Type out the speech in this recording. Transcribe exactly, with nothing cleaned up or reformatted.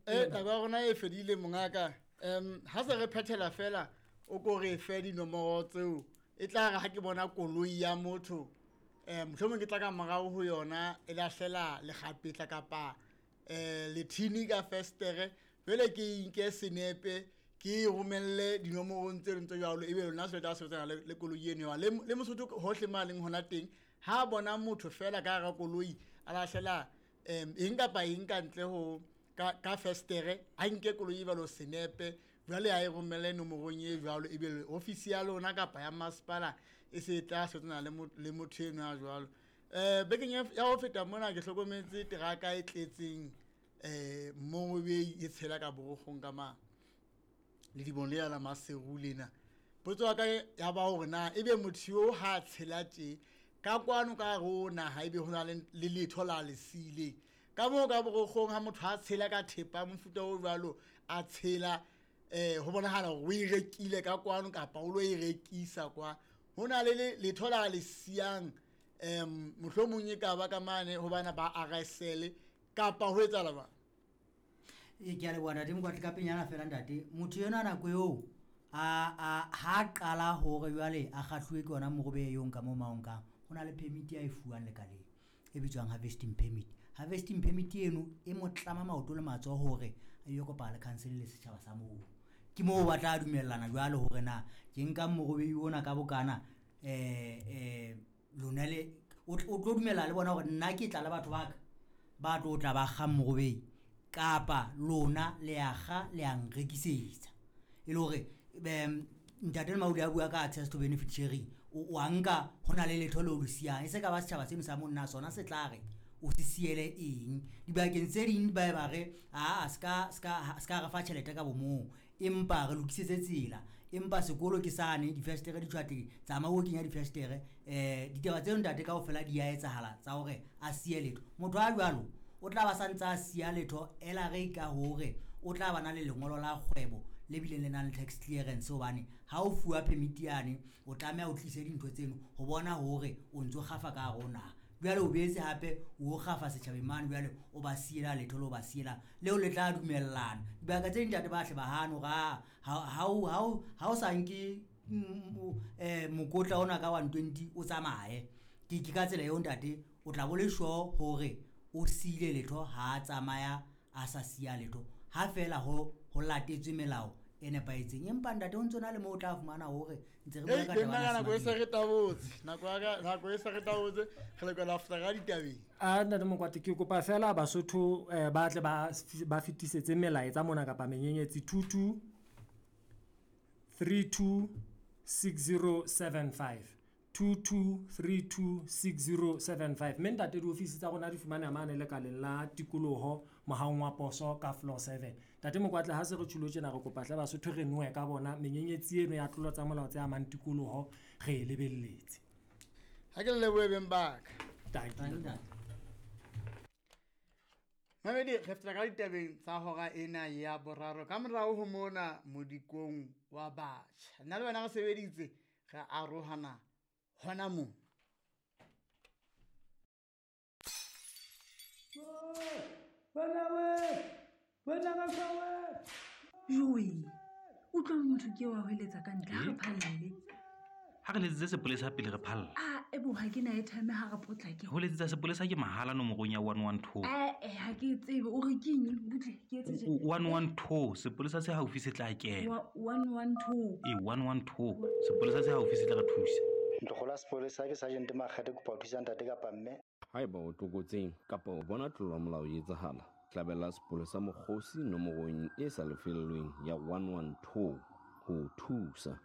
Eh taba ya rona e fedile mongaka. Um ha se re phethela fela o ko re fe dinomoro tseo e tla re ha ke bona koloi ya motho eh mohlomong ke tla ka morao ho yona e lahlela lekgapetla kapa eh lethini ka festere jwale ke inke senepe ke romelle dinomorong tse leng tse jwalo ebe lona se tla sebetsana le le koloi eno ya le le Mosotho hohle ma leng hona teng ha bona motho fela ka hara koloi a lahlela em eng kapa eng ka ntle ho ka ka festere a nke koloi e jwalo senepe jwale a e romelle nomorong e jwalo ebe ofisi ya lona kapa ya masepala e se tla sebetsana le le motho eno a jwalo. Eh bekeng ya ho feta mona ke hlokometse teraka e tletseng eh mongwe e tshela ka borogong ka ma le dibone le la Maseru lena. Potso ya ka ya ba hore na ebe motho yo ha tshela tje ka kwano ka rona ha ebe hona le letho la lesile ka moo ka borogong ha motho a tshela ka thepa mofuta o jwalo a tshela eh ho bonahala hore o e rekile ka kwano kapa o lo e rekisa kwa hona le letho la lesiyang em mohlomong e ka ba ka mane ho bana ba R S L kapa ho etsahala ba e ke a leboha ntate Mokwatle ka penyana fela ntate motho yena nako eo a a ha qala hore jwale a kgahluwe ke yona morobe eo nka mo maong ka ho na le permit ya e fuwang lekaleng e bitswang harvesting permit. Harvesting permit eno e mo tlama maoto le matsoho hore a yo kopana le council le setjhaba sa moo ke moo ba tla dumellana jwale hore na ke nka morobe ona ka bokana eh eh lona le o tlo dumela le bona hore nna ke tla le batho ba ka ba tlo tla ba kga morobe kapa lona le a kga le a nrekisetsa e le hore ntate Maudi a bua ka access to benefit sharing o a nka hona le letho le o le siyang e se ka ba setjhaba seno sa monna sona se tla re o se siele eng dibakeng tse ding ba ba re a ska ska ska re fa tjhelete ka bomong empa re lokisetse tsela empa sekolo ke sane difestere di tshwate tsamaya o kenya difestere eh ditaba tseo ntate kaofela di a etsahala tsa hore a siye letho motho a jwalo o tla ba santsa a siya letho ela re ka hore o tla ba na le lengolo la kgwebo le bileng le nang le tax clearance hobane ha o fuwa permit yane o tlameha o tlise dintho tseno ho bona hore o ntso kgafa ka rona jwale o boetse hape o kgafa setjhabeng mane jwale o ba siela letho le o ba siela leo le tla dumellana dibaka tse ding ntate ba hle ba hano ga ha o ha o sa nke eh mokotla ona ka one twenty o tsamaye ke ke ka tsela eo ntate o tla bo le sure hore o siile letho ha tsamaya a sa siya letho ha fela ho ho latetswe melao e nepahetseng empa ntate o ntse na le mo o tla fumana hore ntse re bua ka taba ya nako e se re tabotse nako ya nako e se re tabotse re lokela ho feta ka ditabeng a ntate Mokwate ke kopa fela Basotho ba tle ba ba fetisetse melaetsa mona kapa menyenyetsi two two three two six zero seven five two two three two six zero seven five mme ntate diofisi tsa rona di fumaneha mane lekaleng la tikoloho mohaong wa poso ka floor seven. Ntate Mokwatle ha se re tjhulo tjena re kopa hle Basotho re noe ka bona menyenyetsi eno ya tlolo tsa molao tse amang tikoloho re e lebelletse. Ha ke le lebohe beng ba ka. Mamedi re feta ka ditabeng tsa hora ena ya boraro ka morao ho mona modikong wa batjha. Nna le wena re sebeditse re arohana hona moo. Joe, utlwa motho ke wa hweletsa ka ntle ha re phalle. Ha re letsetse sepolesa pele re phalla. Ah, ebo ha ke na airtime ha re potlake. Ho letsetsa sepolesa ke mahala nomorong ya one one two. Eh eh ha ke tsebe o re ke eng butle ke etse tje. one one two sepolesa se haufi se tla kena. one one two. E one one two sepolesa se haufi se tla re thusa. Ntlogola sepolesa ke Sergeant Makgate kopa ho thusa ntate kapa mme. Haeba o tlokotseng kapa o bona tlolo ya molao e etsahala, hlabela sepolesa mokgosi nomorong e sa lefellweng ya one one two ho thusa.